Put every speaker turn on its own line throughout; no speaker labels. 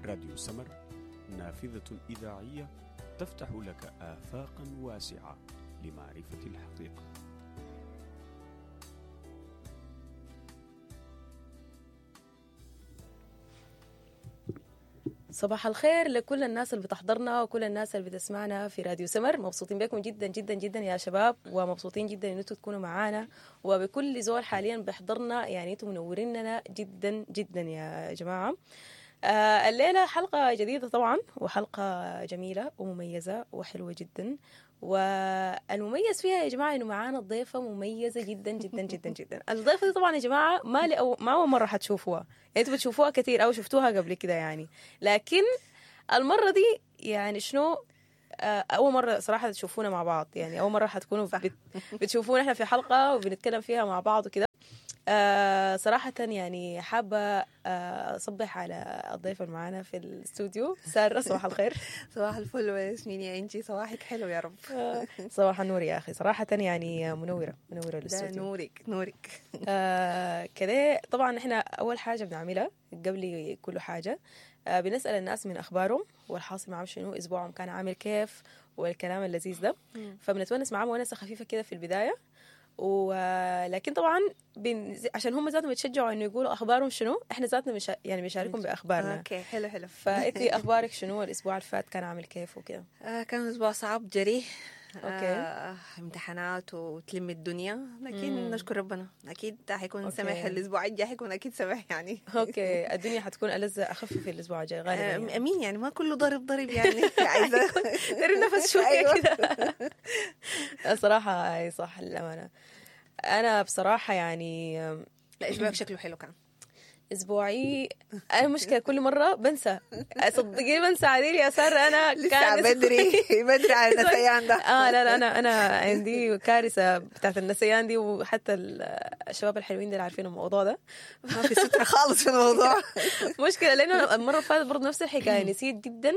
راديو سمر، نافذة إذاعية تفتح لك آفاقا واسعة لمعرفة الحقيقة.
صباح الخير لكل الناس اللي بتحضرنا وكل الناس اللي بتسمعنا في راديو سمر. مبسوطين بكم جدا جدا جدا يا شباب، ومبسوطين جدا ان انتم تكونوا معانا، وبكل زول حاليا بيحضرنا، يعني انتم منوريننا جدا جدا يا جماعة. الليلة حلقة جديدة طبعا، وحلقه جميلة ومميزة وحلوه جدا، والمميز فيها يا جماعة انه معانا ضيفه مميزة جدا جدا جدا جدا. الضيفه دي طبعا يا جماعة ما اول مرة حتشوفوها، يعني انتوا بتشوفوها كثير او شفتوها قبل كده يعني، لكن المرة دي يعني شنو، اول مرة صراحة تشوفونا مع بعض، يعني اول مرة حتكونوا بتشوفونا احنا في حلقة وبنتكلم فيها مع بعض وكده. صراحة يعني حابة أصبح على الضيفة اللي معانا في الاستوديو، سارة. صباح الخير.
صباح الفل وياسمين يا انجي، صباحك حلو يا رب.
صباح النور يا أخي، صراحة يعني منورة منورة الاستوديو.
نورك نورك.
كده طبعا احنا أول حاجة بنعملها قبل كل حاجة، بنسأل الناس من أخبارهم والحاصل معهم شنو، أسبوعهم كان عامل كيف والكلام اللذيذ ده، فبنتونس معاهم ونسة خفيفة كده في البداية، ولكن طبعا عشان هم ذاتهم يتشجعوا انه يقولوا اخبارهم شنو، احنا ذاتنا يعني بنشاركهم باخبارنا.
okay حلو حلو.
فانتي اخبارك شنو، الاسبوع اللي فات كان عامل كيف وكده؟
كان اسبوع صعب جري.
okay.
امتحانات وتلم الدنيا، لكن نشكر ربنا اكيد حيكون سمح الاسبوع الجاي، حيكون اكيد سمح يعني.
okay، الدنيا حتكون ألذ اخف في الاسبوع الجاي غالبا يعني.
امين، يعني ما كله ضرب ضرب يعني. عايزه
تري نفس شوية كده. صراحة اي صح للامانة. انا بصراحة يعني
لا، اسبوعك شكله حلو كان.
اسبوعي انا مشكلة كل مرة بنسى، صدقيني بنسى عديل يا ساره. انا
كان بدري بدري على النسيان ده.
لا لا، انا عندي كارثة بتاعت النسيان دي، وحتى الشباب الحلوين دول عارفين الموضوع ده.
ما في ستر خالص في الموضوع.
مشكلة لانه المرة اللي فاتت برضه نفس الحكاية، نسيت جدا،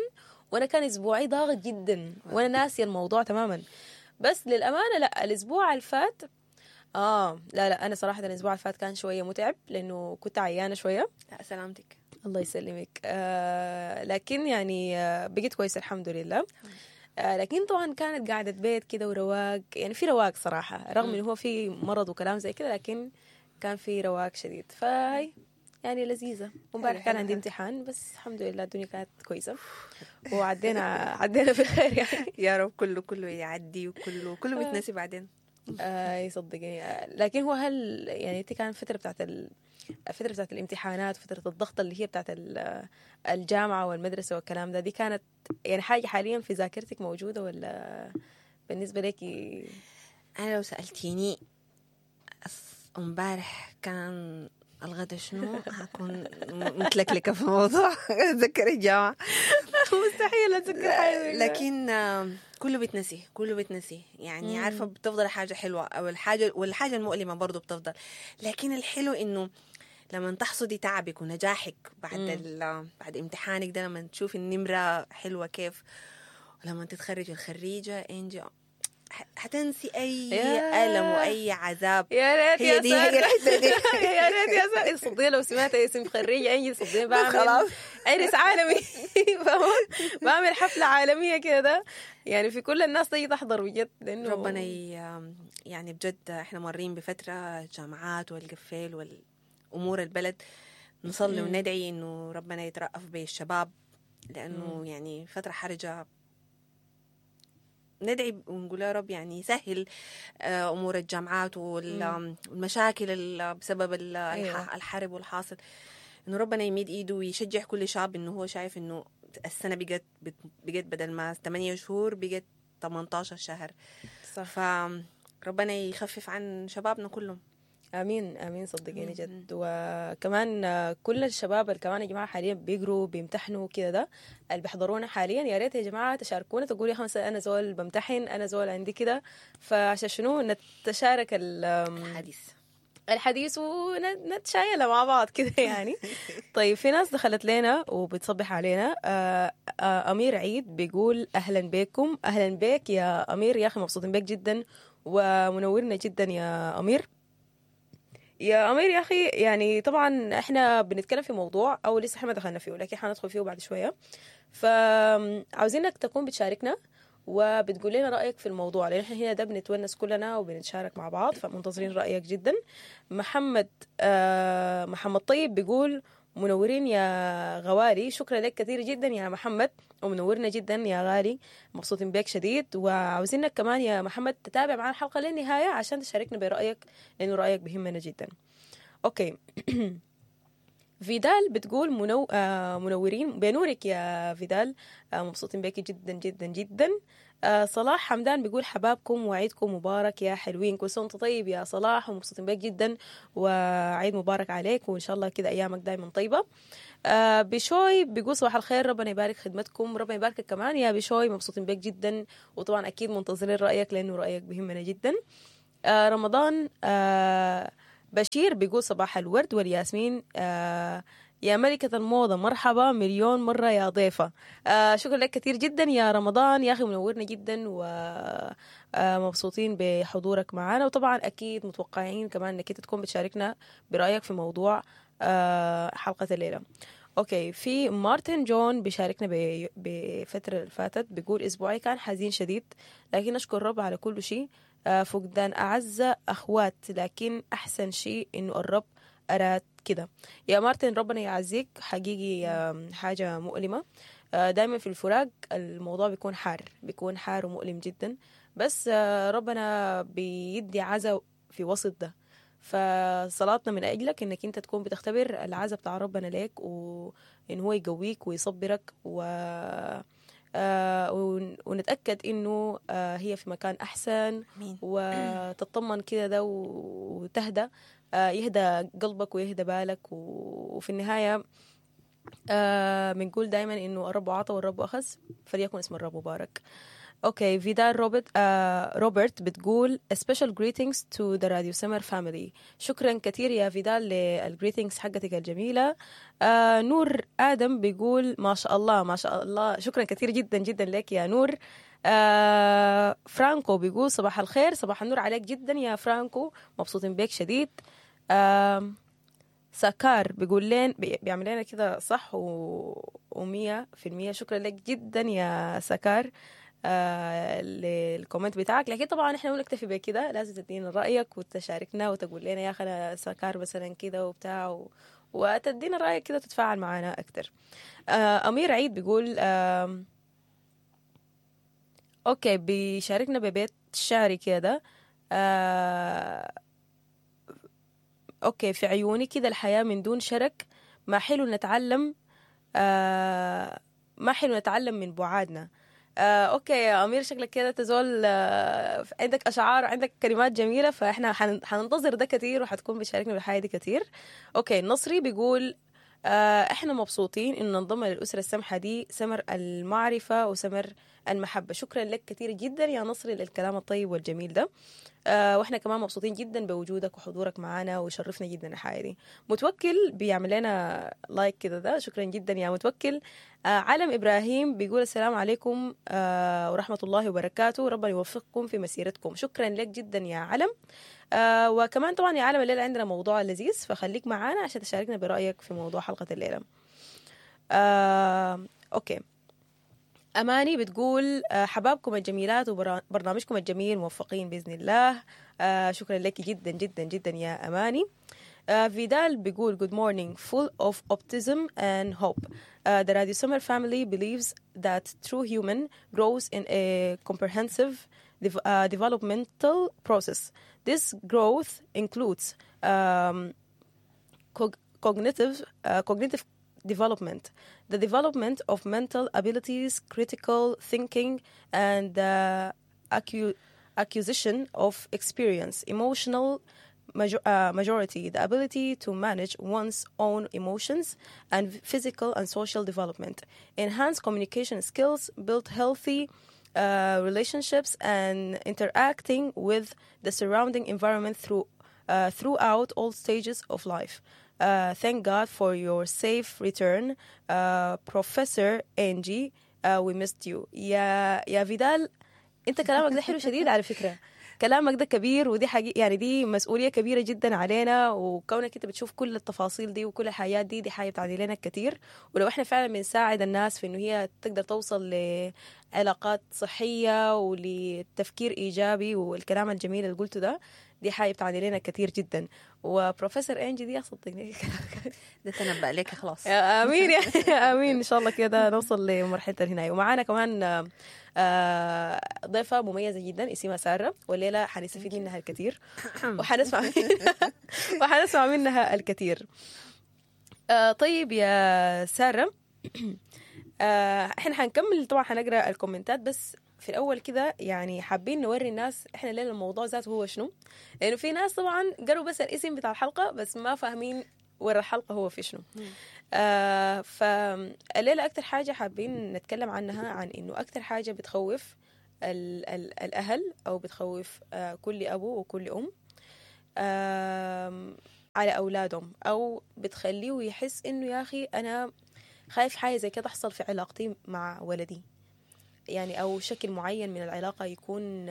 وانا كان اسبوعي ضاغط جدا وانا ناسيه الموضوع تماما. بس للامانة لا، الاسبوع اللي فات لا لا، انا صراحة الاسبوع اللي فات كان شوية متعب لانه كنت عيانه شوية.
لا سلامتك.
الله يسلمك. لكن يعني بقيت كويسة الحمد لله. لكن طبعا كانت قاعدة بيت كده ورواق، يعني في رواق صراحة، رغم انه هو في مرض وكلام زي كده، لكن كان في رواق شديد، فهي يعني لذيذة. وامبارح كان عندي امتحان، بس الحمد لله الدنيا كانت كويسة وعدينا عدينا في الخير يعني.
يا رب كله كله يعدي، وكله كله بيتنسي بعدين.
يصدقني. لكن هو هل يعني انت كان فترة بتاعت الفترة بتاعت الامتحانات، فترة الضغط اللي هي بتاعت الجامعة والمدرسة والكلام ده، دي كانت يعني حاجة حاليا في ذاكرتك موجودة ولا بالنسبة لك؟
انا لو سالتيني امبارح كان الغدا شنو، هكون متلكلكه في الموضوع. اتذكر الجامعة
مستحيل اتذكر حاجة،
لكن كله بيتنسي، كله بيتنسي يعني. عارفه بتفضل حاجة حلوة او الحاجة، والحاجة المؤلمة برضو بتفضل، لكن الحلو انه لما تحصدي تعبك ونجاحك بعد بعد امتحانك ده، لما تشوفي النمرة حلوة كيف، ولما تتخرجي الخريجه انجي، حتنسي اي الم واي عذاب.
يا ريت
يا دي هي الحتة دي.
يا ريت يا ساره، صدقني لو سمعت اسم خريجة انجي صدقني بعمل
خلاص
عرس عالمي، بعمل حفلة عالمية كده يعني، في كل الناس تيجي تحضر بجد، لانه
ربنا يعني بجد احنا مارين بفترة الجامعات والقفال والامور البلد، نصلي وندعي انه ربنا يترأف بالشباب، لانه يعني فترة حرجه. ندعي ونقول يا رب يعني يسهل امور الجامعات والمشاكل بسبب الحرب والحاصل، انه ربنا يميد ايده ويشجع كل شاب انه هو شايف انه السنة بقت بدل ما 8 شهور بقت 18 شهر.
صح.
فربنا يخفف عن شبابنا كلهم.
امين امين، صدقيني جد. وكمان كل الشباب اللي كمان يا جماعة حاليا بيقروا بيمتحنوا كده، ده اللي بيحضرونا حاليا، يا ريت يا جماعة تشاركونا، تقولوا يا مثلا انا زول بمتحن، انا زول عندي كده، فعشان شنو نتشارك الحديث ونتشايل مع بعض كده يعني. طيب في ناس دخلت لنا وبتصبح علينا. امير عيد بيقول اهلا بكم. اهلا بك يا امير يا اخي، مبسوطين بك جدا ومنورنا جدا يا امير. يا امير يا اخي، يعني طبعا احنا بنتكلم في موضوع او لسه احنا ما دخلنا فيه، لكن حندخل فيه بعد شوية. فعاوزينك تكون بتشاركنا وبتقول لنا رايك في الموضوع، لان احنا هنا ده بنتونس كلنا وبنتشارك مع بعض، فمنتظرين رايك جدا. محمد محمد طيب بيقول منورين يا غوالي. شكرا لك كثير جدا يا محمد، ومنورنا جدا يا غالي، مبسوطين بك شديد. وعاوزينك كمان يا محمد تتابع معنا الحلقة للنهاية عشان تشاركنا برايك، لانه رايك بيهمنا جدا. okay. فيدال بتقول منو... آه منورين بنورك يا فيدال، مبسوطين بك جدا جدا جدا. صلاح حمدان بيقول حبابكم وعيدكم مبارك يا حلوين. كل سنة وانت طيب يا صلاح، ومبسوطين بك جدا، وعيد مبارك عليك، وان شاء الله كده ايامك دايما طيبة. بشوي بيقول صباح الخير، ربنا يبارك خدمتكم. ربنا يباركك كمان يا بشوي، مبسوطين بك جدا، وطبعا اكيد منتظرين رايك لانه رايك بيهمنا جدا. رمضان بشير بيقول صباح الورد والياسمين، يا ملكة الموضة مرحبا مليون مرة يا ضيفة. شكرا لك كثير جدا يا رمضان يا أخي، منورنا جدا ومبسوطين بحضورك معنا. وطبعا أكيد متوقعين كمان أنك أنت تكون بتشاركنا برأيك في موضوع حلقة الليلة. okay، في مارتن جون بيشاركنا بفترة اللي فاتت، بيقول اسبوعي كان حزين شديد، لكن اشكر الرب على كل شيء. فقدان اعز اخوات، لكن احسن شيء انه الرب اراد كده. يا مارتن ربنا يعزيك حقيقي، حاجة مؤلمة. دايما في الفراق الموضوع بيكون حار، بيكون حار ومؤلم جدا، بس ربنا بيدي عزا في وسط ده. فصلاتنا من أجلك إنك أنت تكون بتختبر العزا بتاع ربنا ليك، وإن هو يقويك ويصبرك، و ونتأكد إنه هي في مكان أحسن.
امين.
وتطمن كده ده وتهدى، يهدى قلبك ويهدى بالك. وفي النهاية بنقول دايما إنه الرب عطى والرب أخذ، فليكن اسم الرب مبارك. okay، فيدال روبرت روبرت بتقول a special greetings to the Radio Summer family. شكرا كثير يا فيدال لل greetings حقتك الجميلة. نور آدم بيقول ما شاء الله ما شاء الله، شكرا كثير جدا جدا لك يا نور. فرانكو بيقول صباح الخير، صباح النور عليك جدا يا فرانكو، مبسوطين بيك شديد. سكار بيقول لين بيعمل لنا كده صح و100%. شكرا لك جدا يا سكار لل comment بتاعك. لكن طبعا احنا ما نكتفي بكده، لازم تدينا رايك وتشاركنا وتقول لنا يا اخي انا سكار مثلا كده وبتاع وتدينا رايك كده وتتفاعل معنا اكتر. امير عيد بيقول okay، بيشاركنا ببيت شعري كده. okay، في عيوني كده الحياة من دون شرك، ما حلو نتعلم ما حلو نتعلم من بعادنا. Okay يا امير، شكلك كده تزول عندك اشعار، عندك كلمات جميله، فاحنا حننتظر ده كتير وحتكون بتشاركنا بالحاجة دي كتير. okay، النصري بيقول احنا مبسوطين ان ننضم للاسرة السمحة دي، سمر المعرفة وسمر المحبة. شكرا لك كثير جدا يا نصري للكلام الطيب والجميل ده. واحنا كمان مبسوطين جدا بوجودك وحضورك معنا، ويشرفنا جدا الحاجة دي. متوكل بيعمل لنا like كده ده، شكرا جدا يا متوكل. علم ابراهيم بيقول السلام عليكم ورحمة الله وبركاته، ربنا يوفقكم في مسيرتكم. شكرا لك جدا يا علم. وكمان طبعا يا علم الليلة عندنا موضوع لذيذ، فخليك معانا عشان تشاركنا برايك في موضوع حلقة الليلة. Okay، أماني بتقول حبابكم الجميلات وبرنامجكم الجميل، موفقين بإذن الله. شكرا لك جدا جدا جدا يا أماني. فيدال بيقول good morning, full of optimism and hope. The Radio Summer family believes that true human grows in a comprehensive developmental process. This growth includes cognitive development, the development of mental abilities, critical thinking, and the acquisition of experience, emotional majority, the ability to manage one's own emotions, and physical and social development, enhance communication skills, build healthy relationships, and interacting with the surrounding environment throughout all stages of life. Thank God for your safe return, Professor Angie. We missed you. يا فيدال، انت كلامك ده حلو شديد على فكرة. كلامك ده كبير، ودي حقيقة يعني دي مسؤولية كبيرة جدا علينا، وكونك انت بتشوف كل التفاصيل دي وكل الحاجات دي، دي حاجة بتعني لنا كتير. ولو احنا فعلا بنساعد الناس في انه هي تقدر توصل لعلاقات صحية ولتفكير ايجابي والكلام الجميل اللي قلته ده، دي حاجة بتعني لنا كتير جدا. وبروفيسور انجي دي صدقني
ده تنبأ لك خلاص.
يا امين يا امين، ان شاء الله كده نوصل لمرحلة الهنايه. ومعانا كمان ضيفه مميزة جدا اسمها ساره، والليلة حنستفيد منها الكثير وحنسمع منها الكثير. طيب يا ساره، احنا حنكمل طبعا، حنقرا الكومنتات، بس في الاول كده يعني حابين نوري الناس احنا ليه الموضوع ذاته هو شنو، لانه في ناس طبعا قروا بس الاسم بتاع الحلقة بس ما فاهمين ورا الحلقة هو في شنو. فالليله اكثر حاجة حابين نتكلم عنها عن انه اكثر حاجة بتخوف ال ال الاهل او بتخوف كل ابو وكل ام على اولادهم، او بتخليه يحس انه يا اخي انا خايف حاجة زي كده تحصل في علاقتي مع ولدي، يعني أو شكل معين من العلاقة يكون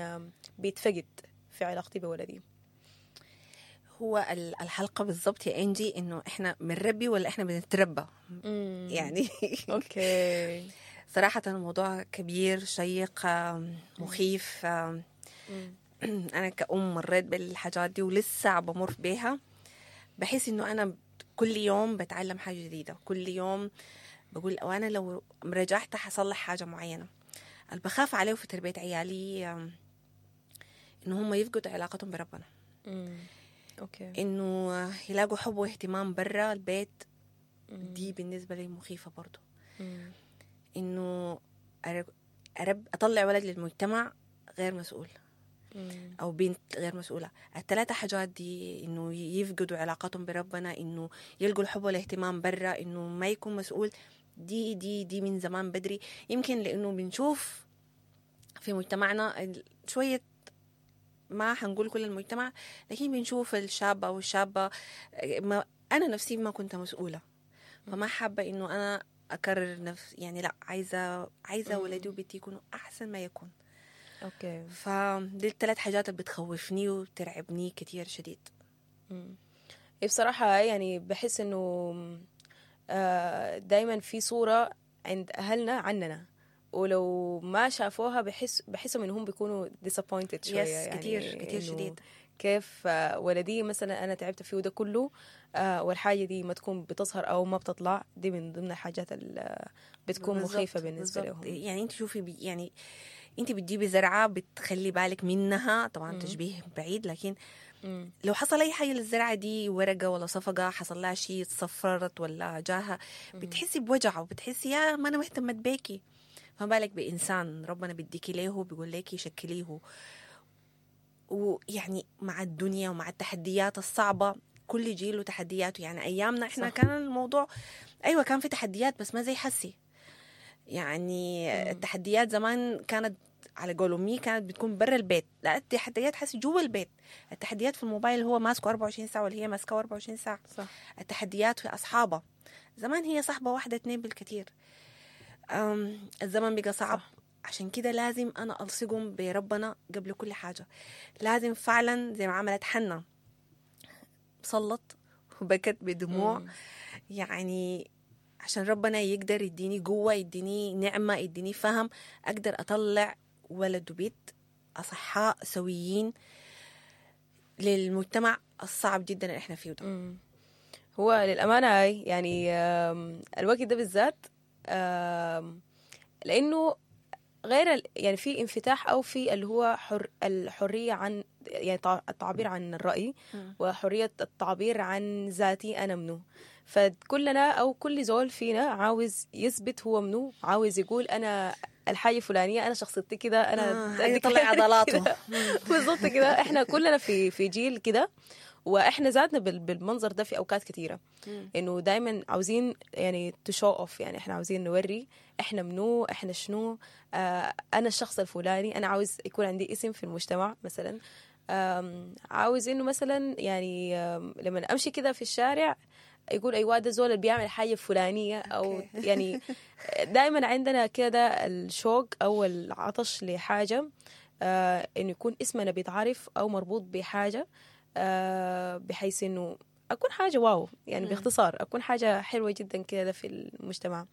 بيتفقد في علاقتي بولدي.
هو الحلقة بالضبط يا إنجي إنه إحنا بنربي ولا إحنا بنتربى يعني.
okay.
صراحة الموضوع كبير شيق مخيف. أنا كأم مريت بالحاجات دي ولسه بمر بيها. بحس إنه أنا كل يوم بتعلم حاجة جديدة، كل يوم بقول وأنا لو رجعت حصلح حاجة معينة. اللي بخاف عليه في تربية عيالي إنه هم يفقدوا علاقتهم بربنا.
okay.
إنه يلاقوا حب واهتمام برا البيت. دي بالنسبة لي مخيفة برضو. إنه أطلع ولد للمجتمع غير مسؤول. أو بنت غير مسؤولة. الثلاثة حاجات دي، إنه يفقدوا علاقتهم بربنا، إنه يلقوا الحب والاهتمام برا، إنه ما يكون مسؤول، دي دي دي من زمان بدري. يمكن لأنه بنشوف في مجتمعنا شوية، ما حنقول كل المجتمع، لكن بنشوف الشاب أو الشابة. ما أنا نفسي ما كنت مسؤولة، فما حابة إنه أنا أكرر نفس، يعني لا، عايزة ولدي وبنتي يكونوا أحسن ما يكون.
okay.
فدي الثلاث حاجات اللي بتخوفني وبترعبني كتير شديد.
بصراحة يعني بحس إنه دايما في صورة عند أهلنا عننا، ولو ما شافوها بحسوا إنهم بيكونوا disappointed شوية.
yes يعني كتير كتير شديد.
كيف ولدي مثلا أنا تعبت فيه ده كله، والحاجة دي ما تكون بتظهر أو ما بتطلع، دي من ضمن الحاجات اللي بتكون مخيفة بالنسبة لهم.
يعني أنت شوفي، يعني أنت بتجيبي زرعة بتخلي بالك منها، طبعا تشبيه بعيد، لكن لو حصل أي حاجة للزرعة دي، ورقة ولا صفقة حصل لها شيء، تصفرت ولا جاها، بتحسي بوجع وبتحسي يا ما أنا مهتمة بيكي. فما بالك بإنسان ربنا بيديكي ليه، بيقول لك شكلية. ويعني مع الدنيا ومع التحديات الصعبة، كل جيل وتحدياته. يعني أيامنا إحنا صح. كان الموضوع أيوة كان في تحديات بس ما زي حسي. يعني التحديات زمان كانت على قول أمي كانت بتكون برا البيت، لا التحديات حسي جوا البيت. التحديات في الموبايل هو ماسكه 24 ساعة ولا هي ماسكه 24 ساعة.
صح.
التحديات في أصحابه، زمان هي صاحبة واحدة 2 بالكثير. الزمن بقى صعب. صح. عشان كده لازم أنا ألصقهم بربنا قبل كل حاجة. لازم فعلا زي ما عملت حنا، صلت وبكت بدموع. يعني عشان ربنا يقدر يديني قوة، يديني نعمة، يديني فهم، أقدر أطلع ولد وبيت أصحاء سويين للمجتمع الصعب جدا اللي احنا فيه ده.
هو للأمانة يعني الوقت ده بالذات، لأنه غير يعني في انفتاح أو في اللي هو الحرية عن يعني التعبير عن الرأي وحرية التعبير عن ذاتي أنا منو. فكلنا أو كل زول فينا عاوز يثبت هو منو، عاوز يقول أنا الحاجة الفلانية، أنا شخصيتي كده، أنا
يطلع عضلاته
بالضبط كده. إحنا كلنا في جيل كده، وإحنا ذاتنا بالمنظر ده في أوقات كثيرة، إنه دايما عاوزين يعني to show off، يعني إحنا عاوزين نوري إحنا منو، إحنا شنو، أنا الشخص الفلاني، أنا عاوز يكون عندي اسم في المجتمع مثلا، عاوز إنه مثلا يعني لما أمشي كده في الشارع يقول أيوة ده زول اللي بيعمل حاجة فلانية، أو يعني دايما عندنا كده الشوق أو العطش لحاجة انه يكون اسمنا بيتعرف او مربوط بحاجة، بحيث انه اكون حاجة wow يعني، باختصار اكون حاجة حلوة جدا كده في المجتمع.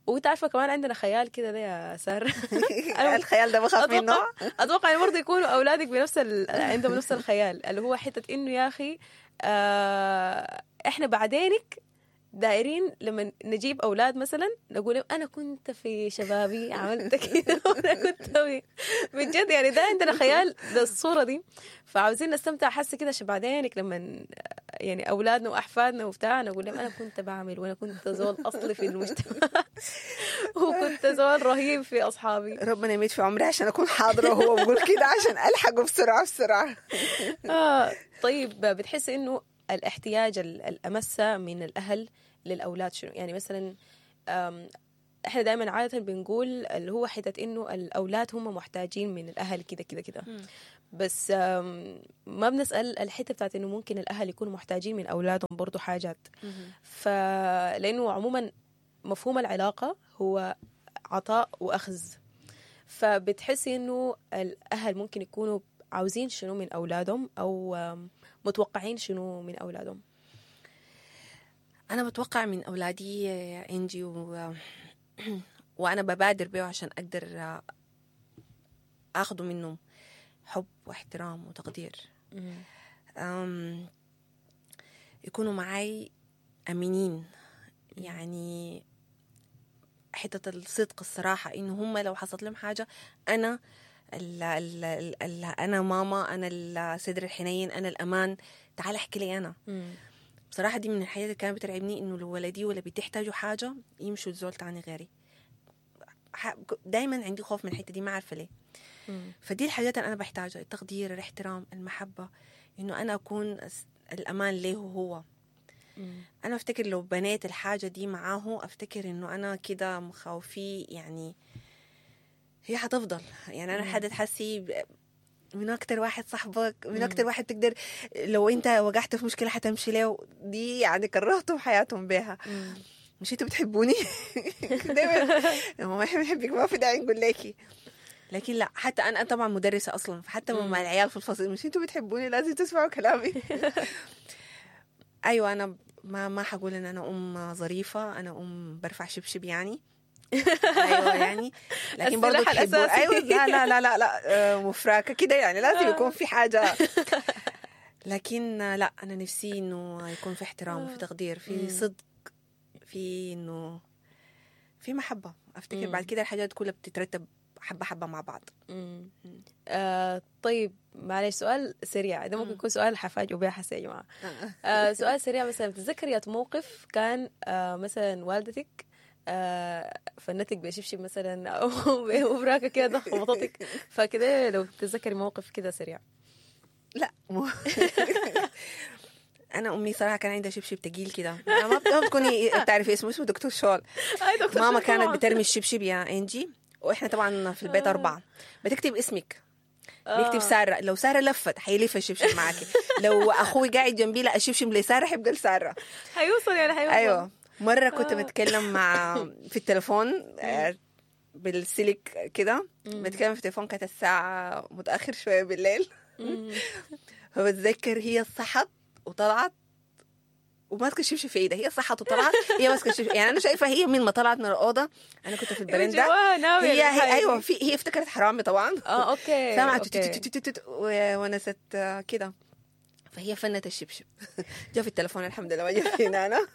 وانت عارفه كمان عندنا خيال كده ده يا ساره.
الخيال ده بخاف منه.
اتوقع يعني برضه يكونوا اولادك بنفس عندهم نفس الخيال، اللي هو حتة انه يا اخي احنا بعدينك دايرين لما نجيب اولاد مثلا نقول لهم انا كنت في شبابي عملت كده وانا كنت بجد يعني ده عندنا خيال بالصورة دي، فعاوزين نستمتع حاسه كده عشان بعدينك لما يعني اولادنا واحفادنا وبتاع نقول لهم انا كنت بعمل وانا كنت زول اصلي في المجتمع وكنت زول رهيب في اصحابي.
ربنا يميت في عمري عشان اكون حاضره وهو بقول كده عشان الحقه بسرعة بسرعة.
طيب بتحس انه الاحتياج الأمسة من الأهل للأولاد شنو؟ يعني مثلا احنا دائما عادة بنقول اللي هو حتة انه الأولاد هم محتاجين من الأهل كده كده كده، بس ما بنسأل الحتة بتاعت انه ممكن الأهل يكونوا محتاجين من أولادهم برضو حاجات. فلأنه عموما مفهوم العلاقة هو عطاء وأخذ، فبتحسي انه الأهل ممكن يكونوا عاوزين شنو من أولادهم أو متوقعين شنو من أولادهم؟
أنا بتوقع من أولادي إنجي وأنا ببادر بيه عشان أقدر أخده منهم حب واحترام وتقدير. يكونوا معي أمينين، يعني حتة الصدق الصراحة، إنه هم لو حصلت لهم حاجة أنا ال ال ال أنا ماما، أنا الصدر الحنين، أنا الأمان، تعال احكي لي أنا. بصراحة دي من الحاجات اللي كانت بترعبني، إنه لو ولدي ولا بتحتاجوا حاجة يمشوا لزول تاني غيري. دايما عندي خوف من الحتة دي، ما عارفة ليه. فدي الحاجات اللي أنا بحتاجها، التقدير، الاحترام، المحبة، إنه أنا أكون الأمان ليه هو. أنا أفتكر لو بنيت الحاجة دي معاه، أفتكر إنه أنا كده مخاوفي يعني هي حتفضل. يعني أنا حد تحسي من أكتر واحد صاحبك، من أكتر واحد تقدر لو أنت وقعت في مشكلة حتمشي له، دي يعني كرهتهم حياتهم بيها. مش أنتوا بتحبوني؟ دايما ما إحنا بنحبك، ما في داعي نقول لكي. لكن لا، حتى أنا طبعا مدرسة أصلا، فحتى مع العيال في الفصل مش أنتوا بتحبوني، لازم تسمعوا كلامي. أيوة، أنا ما حقول إن أنا أم ظريفة، أنا أم برفع شبشب يعني. ايوه يعني، لكن برضه تحبوا. ايوه، لا لا لا لا لا، مفراكه كده يعني، لازم يكون في حاجة. لكن لا، انا نفسي انه يكون في احترام وفي تقدير، في صدق، في انه في محبة. افتكر بعد كده الحاجات كلها بتترتب حبه حبه مع بعض.
طيب معلش سؤال سريع، ده ممكن يكون سؤال حفاجئ بيه حسي يا جماعة. سؤال سريع، مثلا بتتذكري موقف كان مثلا والدتك فنتك بشبشب مثلا او بمبراكه كده خبطتك، فكده لو تتذكري موقف كده سريع.
لا انا امي صراحة كان عندها شبشب تقيل كده، ما بتكوني بتعرفي اسمه، اسمه دكتور شول. ماما كانت بترمي الشبشب يا انجي، واحنا طبعا في البيت 4، بتكتب اسمك، بيكتب ساره، لو ساره لفت حيلف الشبشب معاكي، لو اخوي قاعد جنبي لا الشبشب لساره حيبقى لساره،
حيوصل يعني حيوصل.
ايوه، مرة كنت بتكلم مع في التليفون بالسلك كده، بتكلم في التليفون، كانت الساعة متأخر شوية بالليل. فبتذكر هي صحت وطلعت وماسكة الشبشب في ايدها، هي صحت وطلعت هي ماسكة الشبشب، يعني أنا شايفة هي من ما طلعت من الأوضة، أنا كنت في البرندة، هي أيوة، في هي افتكرت حرامي طبعا.
okay،
سمعت ونست كده، فهي فنت الشبشب. جا في التليفون الحمد لله، ما جا فينا أنا.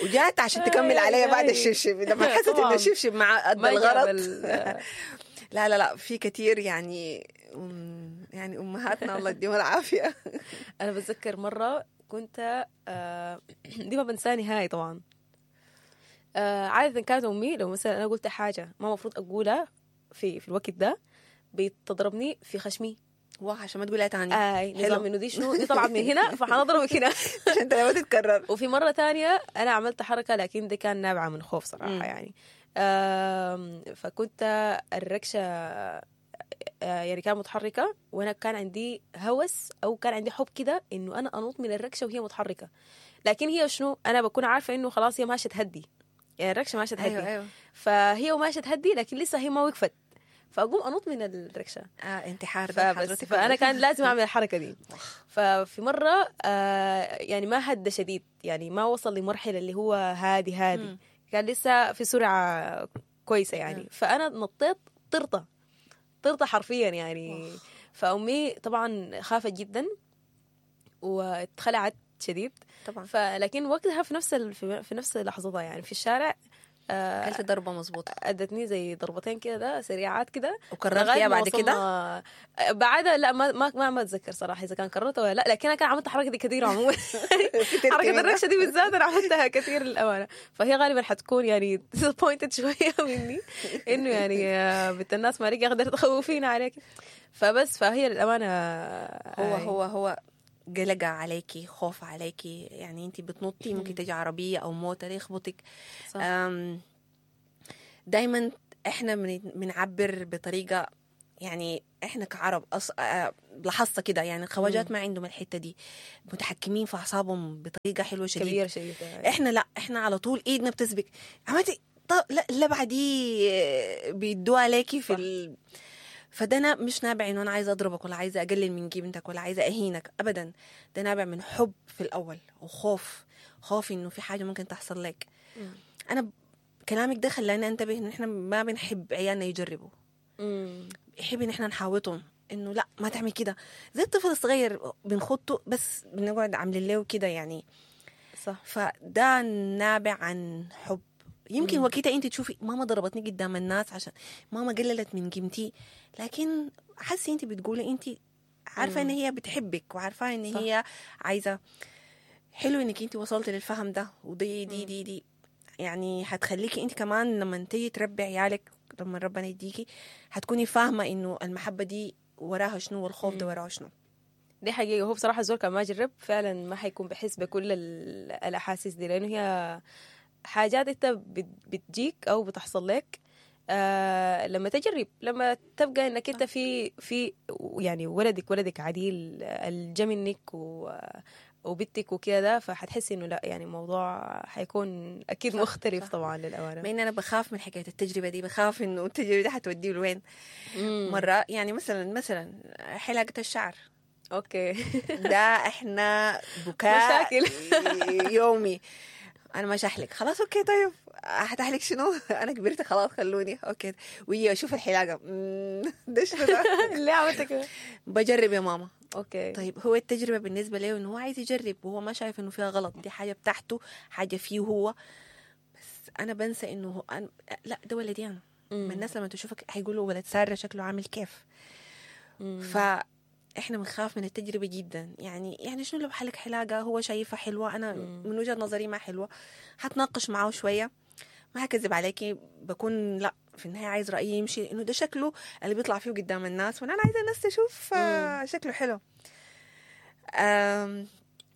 وجات عشان تكمل عليا بعد الشبشب لما حست إنه الشبشب مع قد الغلط. لا لا لا، في كتير يعني، يعني أمهاتنا الله يديهم العافية.
أنا بتذكر مرة كنت دي ما بنساها نهائي طبعا. عادة كانت أمي لو مثلا أنا قلت حاجة ما مفروض أقولها في الوقت ده بتضربني في خشمي،
واه، عشان ما تقولها تاني.
نظام انه دي شنو، دي طلعت من هنا فحنضربك هنا
عشان انت ما تتكرر.
وفي مرة تانية انا عملت حركة، لكن دي كان نابعة من خوف صراحة يعني. فكنت الركشه يعني كان متحركة، وانا كان عندي هوس او كان عندي حب كده انه انا انط من الركشه وهي متحركة، لكن هي شنو، انا بكون عارفه انه خلاص هي ماشية تهدي، يعني الركشه ماشية تهدي.
أيوة.
فهي وماشية تهدي، لكن لسه هي ما وقفت، فاقوم انط من الركشه.
انتحار ده
فبس
حضرتك.
فانا كان لازم اعمل الحركة دي. ففي مرة يعني ما هدى شديد، يعني ما وصل لمرحلة اللي هو هادي هادي، كان لسه في سرعة كويسة يعني. فانا نطيت طرطه طرطه حرفيا يعني. فامي طبعا خافت جدا واتخلعت شديد
طبعا.
فلكن وقتها في نفس في نفس لحظتها يعني في الشارع
اكلت ضربه مظبوطة.
ادتني زي ضربتين كده ده سريعات كده.
وكررتيها
لغاية ما
بعد كده؟
وصلنا- بعدها لا، ما اتذكر صراحة اذا كان كررتها ولا لا، لكن انا كان عملت الحركة دي كثير عموما. حركة الركشه دي بالذات انا عملتها كثير للامانة. فهي غالبا حتكون يعني disappointed شوية مني، انه يعني بنت الناس ما رجع قدرت تخوفينا عليك. فبس فهي للامانة
هو هو هو قلقة عليكي، خوف عليكي، يعني انت بتنطي ممكن تجي عربية او موتر يخبطك.
صح.
دايما احنا بنعبر بطريقة، يعني احنا كعرب لاحظت كده يعني الخواجات ما عندهم الحتة دي، متحكمين في اعصابهم بطريقة حلوة شديد
كبير شديد يعني.
احنا لا، احنا على طول ايدنا بتسبك، عملتي طب لا اللبعه دي بيدوها عليكي في
صح.
فده أنا مش نابع انه انا عايزه اضربك ولا عايزه اقلل من قيمتك ولا عايزه اهينك ابدا، ده نابع من حب في الاول وخوف، خوف انه في حاجة ممكن تحصل لك. انا كلامك ده خلاني انتبه ان احنا ما بنحب عيالنا يجربوا، يحب ان احنا نحاوطهم انه لا ما تعمل كده، زي الطفل الصغير بنخطه بس بنقعد عاملين له كده يعني.
صح.
فده نابع عن حب. يمكن وقتها انت تشوفي ماما ضربتني قدام الناس عشان ماما قللت من قيمتي، لكن حسي انت بتقولي انت عارفه ان هي بتحبك وعارفه ان
صح.
هي عايزه. حلو انك انت وصلتي للفهم ده، ودي دي دي دي يعني هتخليكي انت كمان لما تيجي تربي عيالك، لما ربنا يديكي، هتكوني فاهمه انه المحبة دي وراها شنو والخوف ده وراه شنو.
دي حقيقة. هو بصراحة الزول كان ما جرب فعلا ما حيكون بحس بكل الأحاسيس دي، لأنه هي حاجات أنت بتجيك أو بتحصل لك لما تجرب، لما تبقى إنك أنت في يعني ولدك عديل الجا منك وبنتك وكده، فحتحسي إنه لا يعني الموضوع حيكون أكيد
صح،
مختلف
صح.
طبعا للأمانة.
مع ان انا بخاف من حكاية التجربة دي، بخاف انه التجربة دي حتوديه لوين. مرة يعني مثلا حلاقه الشعر
okay
ده احنا بكاء
مشاكل.
يومي. انا ما شحلك خلاص، okay طيب هتحلك شنو؟ انا كبرت خلاص خلوني okay. ويجي اشوف الحلاقة، ده شنو ده؟
ليه عملت كده؟
بجرب يا ماما.
okay
طيب هو التجربة بالنسبة له انه هو عايز يجرب وهو ما شايف انه فيها غلط، دي حاجة بتاعته، حاجة فيه هو. بس انا بنسى انه هو أنا لا ده ولدي انا. ما الناس لما تشوفك هيقولوا ولد ساره شكله عامل كيف. فاحنا بنخاف من التجربة جدا. يعني شنو لو حلق حلاقه هو شايفها حلوة، انا من وجهه نظري ما حلوة، هتناقش معاه شوية، ما هكذب عليكي، بكون لا في النهاية عايز رايي يمشي انه ده شكله اللي بيطلع فيه قدام الناس، وانا عايزه الناس تشوف شكله حلو.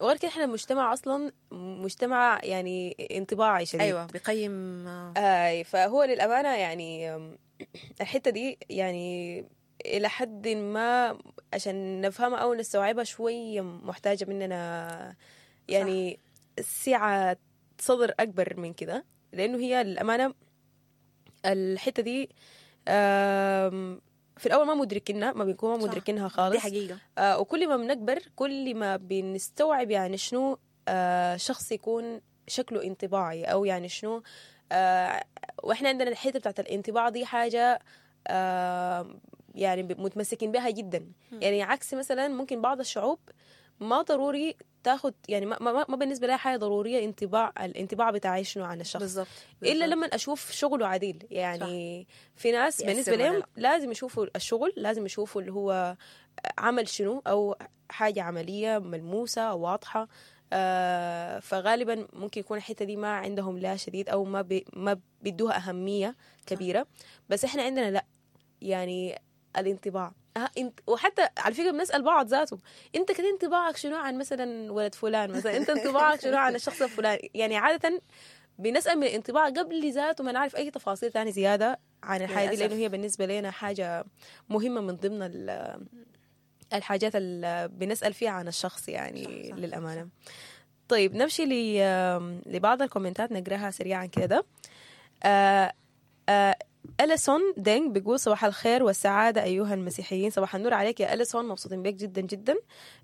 وغير كده احنا مجتمع اصلا مجتمع يعني انطباعي شديد.
ايوه بيقيم.
فهو للامانة يعني الحتة دي يعني الى حد ما عشان نفهمها او نستوعبها شوية محتاجه مننا يعني سعة صدر اكبر من كده، لانه هي للامانة الحتة دي في الاول ما مدركينها، ما بنكون ما مدركينها خالص.
دي حقيقة.
وكل ما بنكبر كل ما بنستوعب يعني شنو شخص يكون شكله انطباعي، او يعني شنو واحنا عندنا الحتة بتاعت الانطباع دي حاجة يعني متمسكين بها جدا. يعني عكس مثلا ممكن بعض الشعوب ما ضروري تاخد يعني ما بالنسبة لها حاجة ضرورية انطباع، الانطباع بتاعي شنو عن الشخص
بالضبط.
الا لما اشوف شغله عديل. يعني صح. في ناس بالنسبة لهم لازم يشوفوا الشغل، لازم يشوفوا اللي هو عمل شنو او حاجة عملية ملموسة واضحة. فغالبا ممكن يكون الحتة دي ما عندهم لا شديد او ما بيدوها اهمية كبيرة. بس احنا عندنا لا، يعني الانطباع وحتى على فكرة بنسال بعض ذاته، انت كده انطباعك شنو عن مثلا ولد فلان، مثلا انت انطباعك شنو عن الشخص الفلاني. يعني عادة بنسال من الانطباع قبل ذاته ما نعرف اي تفاصيل ثانية زيادة عن الحاجة دي، لانه هي بالنسبة لنا حاجة مهمة من ضمن الحاجات اللي بنسال فيها عن الشخص يعني. صح صح للامانة. طيب نمشي لبعض الكومنتات نقراها سريعا كده. أليسون دينج بيقول صباح الخير والسعادة أيها المسيحيين. صباح النور عليك يا أليسون، مبسوطين بك جدا جدا،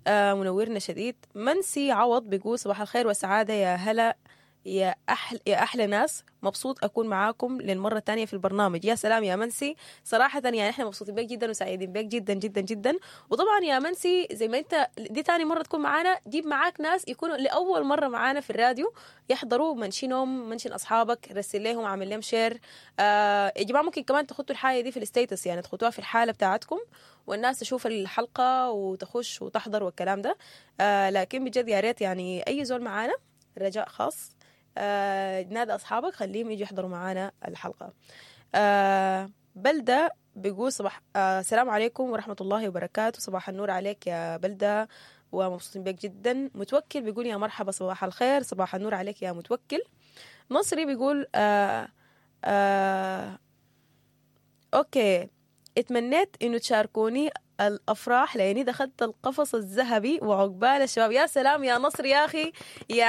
منورنا شديد. منسي عوض بيقول صباح الخير والسعادة يا هلا يا أحلى ناس، مبسوط أكون معاكم للمرة الثانية في البرنامج. يا سلام يا منسي، صراحة يعني إحنا مبسوطين بك جدا وسعيدين بك جدا جدا جدا. وطبعا يا منسي زي ما أنت دي تاني مرة تكون معانا، جيب معاك ناس يكونوا لأول مرة معانا في الراديو يحضروا، mention هم، mention أصحابك، رسل لهم، عامل لهم share. يا جماعة ممكن كمان تخطوا الحاجة دي في ال status، يعني تخطوها في الحالة بتاعتكم والناس تشوف الحلقة وتخش وتحضر والكلام ده. لكن بجد يا ريت يعني أي زول معانا، رجاء خاص، نادى أصحابك خليهم يجوا يحضروا معانا الحلقة. بلدة بيقول صباح السلام عليكم ورحمة الله وبركاته. صباح النور عليك يا بلدة ومبسوطين بك جدا. متوكل بيقول يا مرحبا صباح الخير. صباح النور عليك يا متوكل. نصري بيقول okay، اتمنيت انه تشاركوني الافراح لاني دخلت القفص الذهبي وعقبال الشباب. يا سلام يا نصر يا اخي. يا